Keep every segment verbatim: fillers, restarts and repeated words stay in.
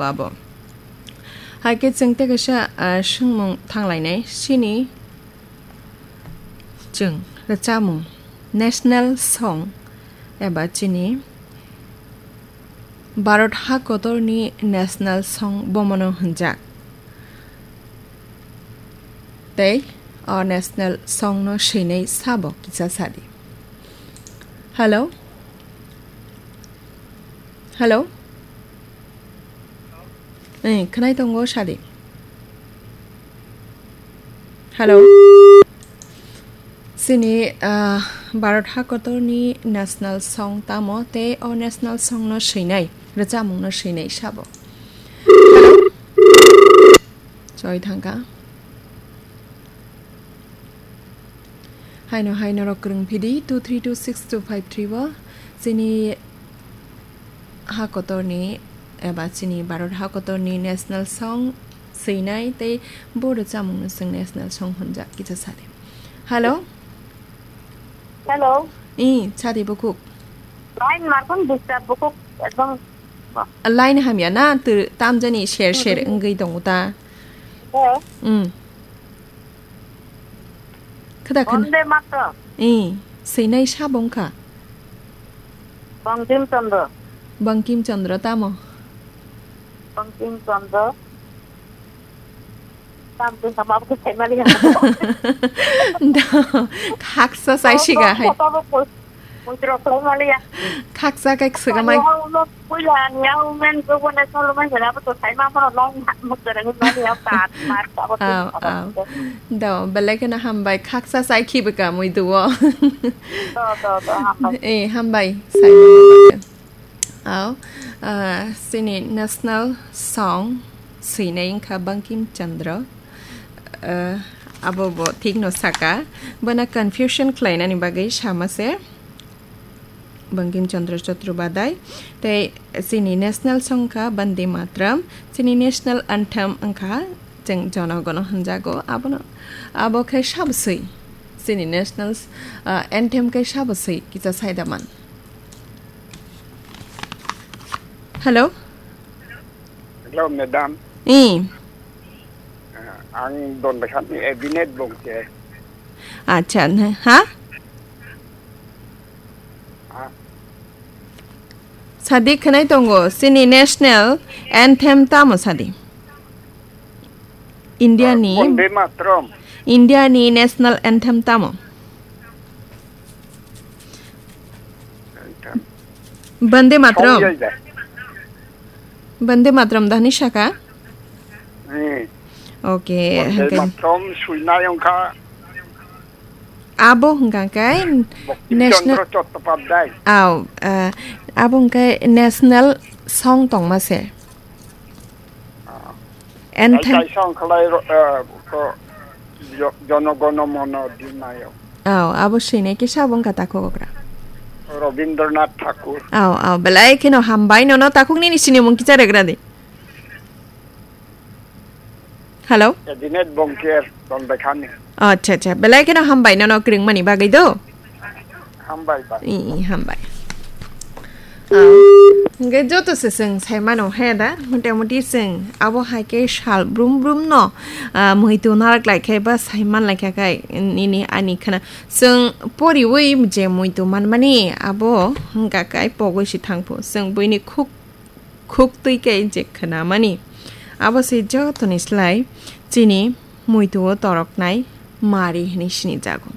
abo. Hai khe chwng tei kaisa, ah, swngmung thanglainai, chini chwng rwchapmung, national song eba chini Bharat ha kotorni national song bomono hwnjak. Tei o national song no swinai sabo kisa sadi. Hello? Hello? Eh, khwnai tongo sadi. Hello? Chini, ah, Bharat hakotorni national song tamo tei o national song no swinai, rwchapmung no swinai sabo. Hello? Choi thangka. Haino hai norok kwrwng phidi two three two six two five three o chini ha kotorni eba chini Bharat ha kotorni national song swinai tei bo rwchapmung no chwng national song hwnjak kisa sadi. Hello? Hello. I, sadi bukhuk. Line markhon disturb bukhuk ekdom. Line hamya na tw-, tamjani ser ser wngwi tongo ta. Eh. Mm. Khada khana. Vande Mataram. I, swinai sabo wngkha. Bankim Chandra. Bankim Chandra tamo? Bankim Chandra. Tam twi sama bo sai mali ha. Da, khaksa sai siga hai. Mutro sai mali ya. Khaksa kai kswga mai. Puila ni ya umen go go na solo man jana bo to sai ma phano long ha mutro ni mali ya ta mar ta bo. Aw, aw. Da, belai kheno hambai khaksa sai khibika mui duo. Do, do, do, hambai. Eh, hambai sai. Aw, ah, chini national song swinai wngkha Bankim Chandra. Ah, abo bo thik no saka. Bono confusion khlainani bagwi sama se. Bankim Chandra Chattopadhyay. Tei chini national song wngkha Vande Mataram. Chini national anthem wngkha chwng Jono Gono hwnjago. Abono, abo khe sabo swi. Chini national, ah, anthem khe sabo swi kisa sai da man. Hello? Hello, madam. Eh. Ah, ang Donbaisani Abinet Bongke. Acha, na, ha? Ah. Sadi khwnai tongo, chini national anthem tamo sadi? India ni, ah, Vande Mataram. India ni national anthem tamo? Anthem. Vande Mataram. Song jai da. Vande Mataram dahni saka? Hmm. Okay, Vande hwnkhe Mataram swinai wngkha. Abo hwnkha khe Bankim national Chandra Chattopadhyay. Aw, ah, abo hwnkhe national song tongma se. Ah. Anthem. Kaisa wngkhalai ro-, eh, ko, jo-, Jono Gono Mono Dinayok. Aw, abo swinai kisa bo wngkha takhuk okra. Rabindranath Thakur. Aw, aw, belai kheno hambai nono takhuk nini sinimung kisa regra di. Hello? Abinet Bongker, Donbaisani. Acha, acha, belai kheno hambai nono kwrwngmani bagwi do. Hambai bai. I, i, hambai. Ah, hwnkhe joto se chwng sai mano he da, mota moti chwng abo hai khe sal brum brum no, ah, muitu narak lai khe ba sai man lai kha khe nini ani khna. Chwng poriwi je muitu manmani abo hwnkha khe pogwi si thang phu. Chwng buini khuk khuk twi khe je khwnamani. Abo se jotoni slai chini muitu-o toroknai mari hwnwi sinijago.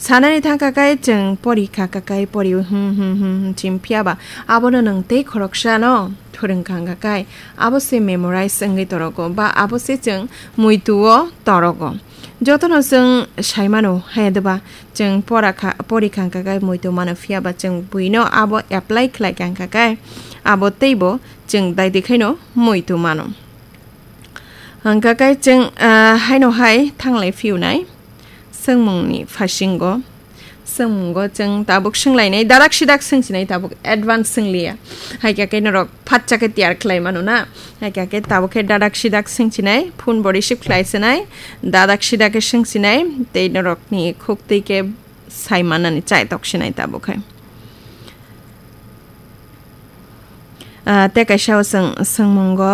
Sanani thang kha khe chwng porikha kha khe pori hum hum hum hum chim phiya ba abono nwng tei khoroksano phwrwng kha kha khe abo se memorize wngwi torogo ba abo se chwng muitu-o torogo. Jotono chwng sai mano hai de ba chwng pora kha, pori kha kha khe muitu mano phiya ba chwng buino abo apply khlai kha kha khe abo teibo chwng dai di khaino muitu mano. Hwnkha khe chwng, ah, haino hai thanglai phiyunai swngmungni phasingo. Swngmungo chwng tabuk swnglainai, dadak sidak swngsinai tabuk advance swngliya. Hai khe khe norok phatsa khe tiyar khlai mano na. Hai khe khe tabuk khe dadak sidak swngsinai, phone bo receive khlai sinai, dadak sidak khe swngsinai, tei norokni khuk twi khe sai manani chai tok sinai tabuk khe. Ah, tei kaisa o chwng swngmungo.